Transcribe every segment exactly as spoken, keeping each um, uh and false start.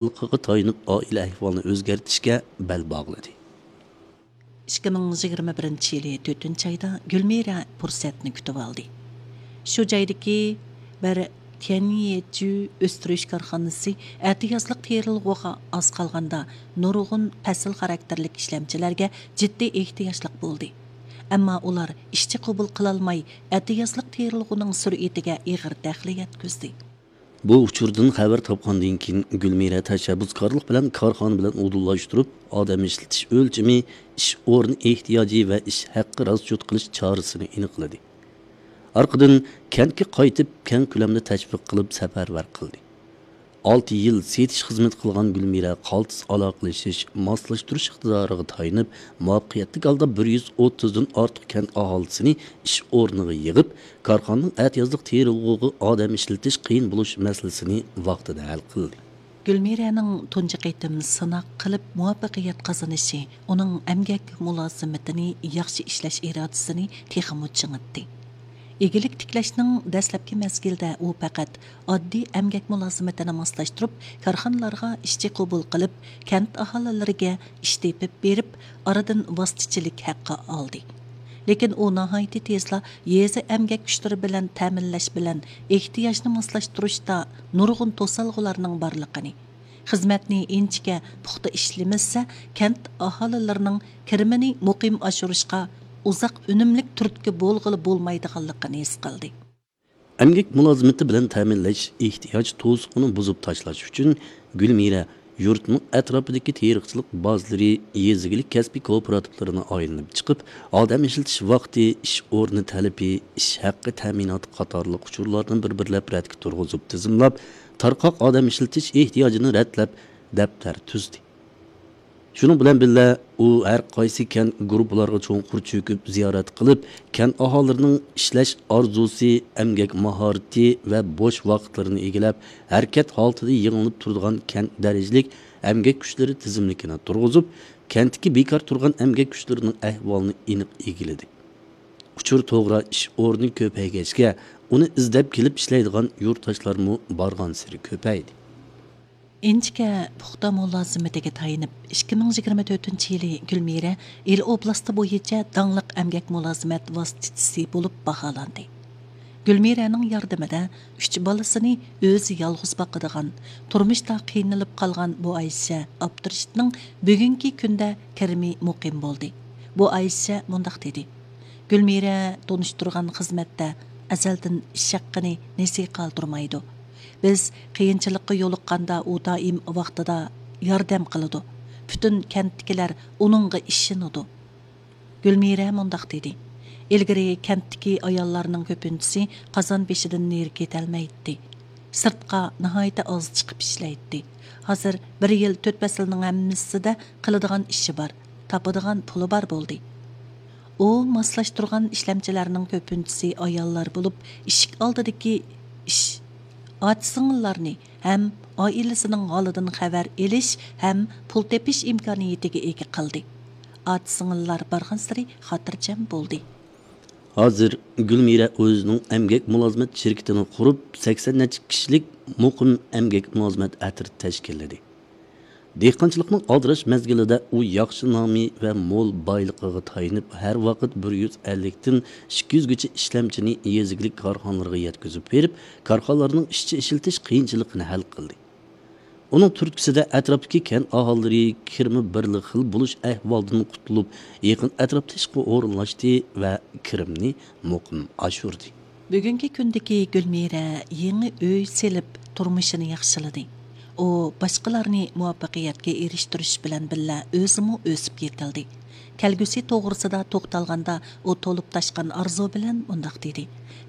بايلىقىغا تايىنىپ ئائىلە ئەھۋالىنى ئۆزگەرتىشكە بەل باغلىدى. ئىككى مىڭ يىگىرمە بىرىنچى يىلى تۆتىنچى ئايدا گۈلمىرە پۇرسەتنى كۈتۈۋالدى. شۇ جايدىكى بىر تيەنيېجۈ ئۆستۈرۈش كارخانىسى ئەتىيازلىق تېرىلغۇغا ئاز قالغاندا نۇرغۇن پەسىل خاراكتېرلىك ئىشلەمچىلەرگە جىددىي ئېھتىياجلىق بولدى. ئەمما ئۇلار ئىشچى قوبۇل قىلالماي، ئەتىيازلىق تېرىلغۇنىڭ سۈرئىتىگە ئېغىر دەخلى يەتكۈزدى. بۇ ئۇچۇردىن خەۋەر تاپقاندىن كېيىن، گۈلمىرە تەشەببۇسكارلىق بىلەن كارخانا بىلەن ئۇدۇللاشتۇرۇپ، ئادەم ئىشلىتىش ئۆلچىمى، ئىش ئورنى ئېھتىياجى ۋە ئىش ھەققى راسچوت قىلىش چارىسىنى ئېنىقلىدى. ئارقىدىن كەنتكە قايتىپ، كەڭ كۆلەمدە تەشۋىق قىلىپ سەپەرۋەر قىلدى. ئالتە يىل سېتىش خىزمىتى قىلغان گۈلمىرە قالتىس ئالاقىلىشىش، ماسلاشتۇرۇش ئىقتىدارىغا تايىنىپ، مۇۋەپپەقىيەتلىك ھالدا بىر يۈز ئوتتۇزدىن ئارتۇق كەنت ئاھالىسىنى ئىش ئورنىغا يىغىپ، كارخانىنىڭ ئەتىيازلىق تېرىلغۇغا ئادەم ئىشلىتىش قىيىن بولۇش مەسىلىسىنى ۋاقتىدا ھەل قىلدى. گۈلمىرەنىڭ تۇنجى قېتىم سىناق قىلىپ مۇۋەپپەقىيەت قازىنىشى ئۇنىڭ ئەمگەك مۇلازىمىتىنى، ياخشى ئىشلەش ئىرادىسىنى تېخىمۇ چىڭىتتى. ئىگىلىك تىكلەشنىڭ دەسلەپكى مەزگىلىدە ئۇ پەقەت ئاددىي ئەمگەك مۇلازىمىتىنى ماسلاشتۇرۇپ، كارخانىلارغا ئىشچى قوبۇل قىلىپ، كەنت ئاھالىلىرىگە ئىش تېپىپ بېرىپ، ئارىدىن ۋاسىتىچىلىك ھەققى ئالدى. لېكىن ئۇ ناھايىتى تېزلا يېزا ئەمگەك كۈچلىرى بىلەن تەمىنلەش بىلەن ئېھتىياجنى ماسلاشتۇرۇشتا نۇرغۇن توسالغۇلارنىڭ بارلىقىنى، خىزمەتنى ئىنچىكە، پۇختا ئىشلىمىسە، كەنت ئاھالىلىرىنىڭ كىرىمىنى مۇقىم ئاشۇرۇشقا ئۇزاق ئۈنۈملۈك تۈرتكە بولغىلى بولمايدىغانلىقىنى ھېس قىلدى. ئەمگەك مۇلازىمىتى بىلەن تەمىنلەش ئېھتىياج توسۇقىنى بۇزۇپ تاشلاش ئۈچۈن، گۈلمىرە يۇرتنىڭ ئەتراپىدىكى تېرىقچىلىق بازىلىرى، يېزا ئىگىلىك كەسپىي كوپىراتىپلىرىنى ئايلىنىپ چىقىپ، ئادەم ئىشلىتىش ۋاقتى، ئىش ئورنى تەلىپى، ئىش ھەققى تەمىناتى قاتارلىق ئۇچۇرلارنى بىر-بىرلەپ رەتكە تۇرغۇزۇپ تىزىملاپ، تارقاق ئادەم ئىشلىتىش ئېھتىياجىنى رەتلەپ، دەپتەر تۈزدى. شۇنىڭ بىلەن بىللە، ئۇ ھەر قايسى كەنت گۇرۇپپىلارغا چوڭقۇر چۆكۈپ زىيارەت قىلىپ، كەنت ئاھالىلىرىنىڭ ئىشلەش ئارزۇسى، ئەمگەك ماھارىتى ۋە بوش ۋاقىتلىرىنى ئىگىلەپ، ھەرىكەت ھالىتىدە يېڭىلىنىپ تۇرىدىغان كەنت دەرىجىلىك ئەمگەك كۈچلىرى تىزىملىكىنى تۇرغۇزۇپ، كەنتتىكى بىكار تۇرغان ئەمگەك كۈچلىرىنىڭ ئەھۋالىنى ئېنىق ئىگىلىدى. ئۇچۇر توغرا ئىش ئورنى كۆپەيگەچكە، ئۇنى ئىزدەپ كېلىپ ئىشلەيدىغان يۇرتداشلارمۇ بارغانسېرى كۆپەيدى. ئىنچىكە پۇختا مۇلازىمىتىگە تايىنىپ، ئىككى مىڭ يىگىرمە تۆتىنچى يىلى گۈلمىرە ئىل ئوبلاستى بويىچە داڭلىق ئەمگەك مۇلازىمەت ۋاسىتىچىسى بولۇپ باھالاندى. گۈلمىرەنىڭ ياردىمىدە ئۈچ بالىسىنى ئۆزى يالغۇز باقىدىغان، تۇرمۇشتا قىينىلىپ قالغان بۇ ئايشە ئابدۇرېشىتنىڭ بۈگۈنكى كۈندە كىرىمى مۇقىم بولدى. بۇ ئايشە مۇنداق دېدى: گۈلمىرە تونۇشتۇرغان خىزمەتتە ئەزەلدىن ئىش ھەققىنى نېسى قالدۇرمايدۇ. بىز قىيىنچىلىققا يولۇققاندا ئۇ دائىم ۋاقتىدا ياردەم قىلىدۇ. پۈتۈن كەنتتىكىلەر ئۇنىڭغا ئىشىنىدۇ. گۈلمىرە مۇنداق دېدى: ئىلگىرى كەنتتىكى ئاياللارنىڭ كۆپىنچىسى قازان بېشىدىن نېرى كېتەلمەيتتى. سىرتقا ناھايىتى ئاز چىقىپ ئىشلەيتتى. ھازىر بىر يىل تۆت پەسىلنىڭ ھەممىسىدە قىلىدىغان ئىشى بار، تاپىدىغان پۇلى بار بولدى. ئۇ ماسلاشتۇرغان ئىشلەمچىلەرنىڭ كۆپىنچىسى ئاياللار بولۇپ، ئىشىك ئالدىدىكى ئىش، ئاچا-سىڭىللارنى ھەم ئائىلىسىنىڭ ھالىدىن خەۋەر ئېلىش ھەم پۇل تېپىش ئىمكانىيىتىگە ئىگە قىلدى. ئاچا-سىڭىللار بارغانسېرى خاتىرجەم بولدى. ھازىر گۈلمىرە ئۆزىنىڭ ئەمگەك مۇلازىمەت شىركىتىنى قۇرۇپ، سەكسەن نەچچە كىشىلىك مۇقىم ئەمگەك مۇلازىمەت ئەترىتى تەشكىللىدى. دېھقانچىلىقنىڭ ئالدىراش مەزگىلىدە ئۇ ياخشى نامى ۋە مول بايلىقىغا تايىنىپ، ھەر ۋاقىت بىر يۈز ئەللىكتىن ئىككى يۈزگىچە ئىشلەمچىنى يېزا ئىگىلىك كارخانىلىرىغا يەتكۈزۈپ بېرىپ، كارخانىلارنىڭ ئىشچى ئىشلىتىش قىيىنچىلىقىنى ھەل قىلدى. ئۇنىڭ تۈرتكىسىدە ئەتراپتىكى كەنت ئاھالىلىرى كىرىمى بىرلا خىل بولۇش ئەھۋالىدىن قۇتۇلۇپ، يېقىن ئەتراپتا ئىشقا ئورۇنلاشتى ۋە كىرىمنى مۇقىم ئاشۇردى. بۈگۈنكى كۈندىكى گۈلمىرە يېڭى ئۆي سېلىپ، تۇرمۇشىنى ياخشىلىدى. ئۇ باشقىلارنى مۇۋەپپەقىيەتكە ئېرىشتۈرۈش بىلەن بىللە، ئۆزىمۇ ئۆسۈپ يېتىلدى. كەلگۈسى توغرىسىدا توختالغاندا، ئۇ تولۇپ تاشقان ئارزۇ بىلەن مۇنداق دېدى: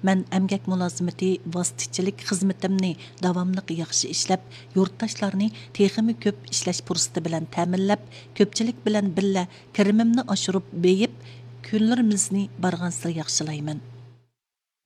مەن ئەمگەك مۇلازىمىتى ۋاسىتىچىلىك خىزمىتىمنى داۋاملىق ياخشى ئىشلەپ، يۇرتداشلارنى تېخىمۇ كۆپ ئىشلەش پۇرسىتى بىلەن تەمىنلەپ، كۆپچىلىك بىلەن بىللە كىرىمىمنى ئاشۇرۇپ بېيىپ، كۈنلىرىمىزنى بارغانسېرى ياخشىلايمەن.